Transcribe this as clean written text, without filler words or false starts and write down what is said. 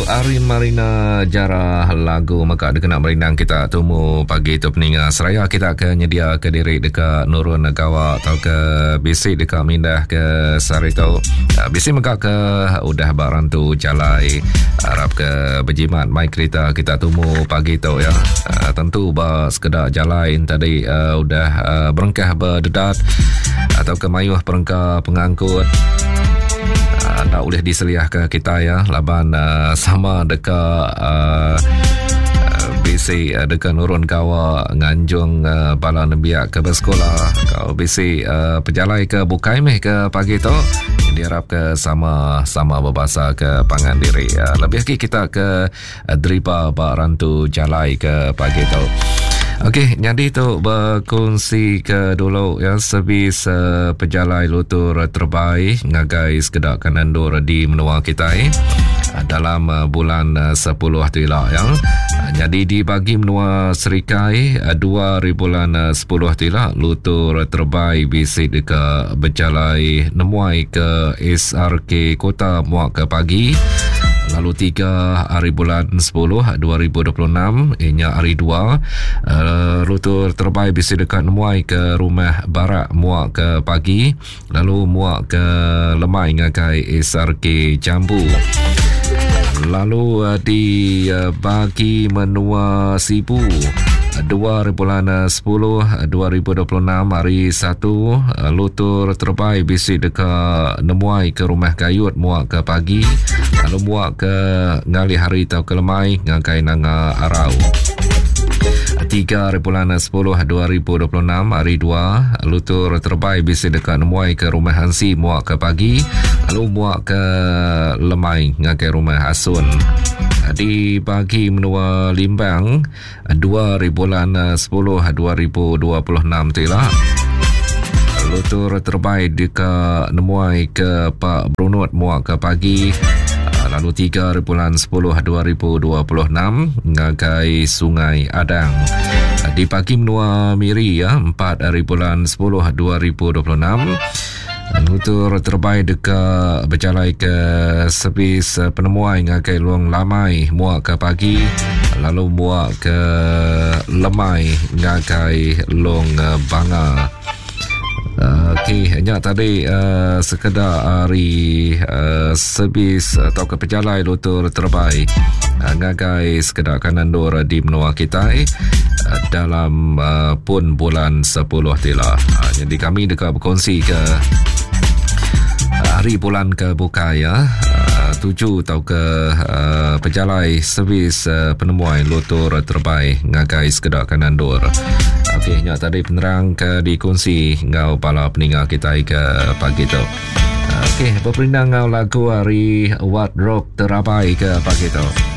Ari Marina Jara lagu mega dikena merindang kita tumu pagi tu peninga seraya kita ke nyedia ke diri deka nurun gawa atau ke bisi deka mindah ke sehari tu. Ah, bisi mega ke udah ba rantu jalai arap ke bejimat mai kerita kita tumu pagi tu ya. Ah, tentu ba sekeda jalai tadi uh, udah uh, berengkah berdedat atau ke mayuh perengka pengangkut uh, tak boleh diseliahka kita ya laban uh, sama deka uh, bisi uh, deka nurun gawa nganjung uh, bala nembiak ke bersekolah kau bisi uh, pejalai ke bukai meh ke pagi tu diharap ke sama sama berbahasa ke pangan diri uh, lebih lagi kita ke Driba ba rantu jalai ke pagi tu. Okey, nyadi tu berkongsi ke dulu ya servis uh, pejalai lutur terbai ngagai sekeda kanan endur di menua kitai uh, dalam uh, bulan uh, 10 tu ila ya. Uh, jadi di bagi menua Serikai uh, 2 hari bulan uh, 10 tu ila lutur terbai bisi deka bejalai nemuai ke SRK Kota Muak ke pagi lalu 3 hari bulan 10 2026 inya hari 2 uh, eh, lutur terbai bisi dekat nemuai ke rumah barak muak ke pagi lalu muak ke lemai ngagai SRK Jambu lalu uh, di uh, bagi menua Sibu 2 bulan 10 2026 hari 1 lutur terbai bisi deka nemuai ke rumah Gayut muak ke pagi lalu muak ke ngalih hari tau ke lemai ngagai Nanga Arau. 3 bulan 10 2026 hari 2 lutur terbai bisi deka nemuai ke rumah Hansi muak ke pagi lalu muak ke lemai ngagai rumah Asun. Di bagi menua Limbang 2 hari bulan 10 2026 tu ila lutur terbai deka nemuai ke Pak Brunut muak ke pagi lalu 3 hari bulan 10 2026 ngagai Sungai Adang. Di pagi menua Miri ya 4 hari bulan 10 2026 Nutur terbai deka bejalai ke servis penemuai ngagai Luang Lamai muak ke pagi lalu muak ke lemai ngagai Long Banga. Okey, nya tadi uh, sekeda ari uh, servis atau ke pejalai lutur terbai uh, ngagai sekeda kanan dur di menua kitai uh, dalam uh, pun bulan 10 tila. Uh, jadi kami deka berkongsi ke hari bulan ke bukai ya uh, tuju atau ke uh, pejalai servis uh, penemuai lutur terbai ngagai sekeda kanan dur. Okey, nya tadi penerang ke dikongsi enggau bala peninga kita ke pagi tu. Okey, berperindang enggau lagu hari What Rock Terabai ke pagi tu.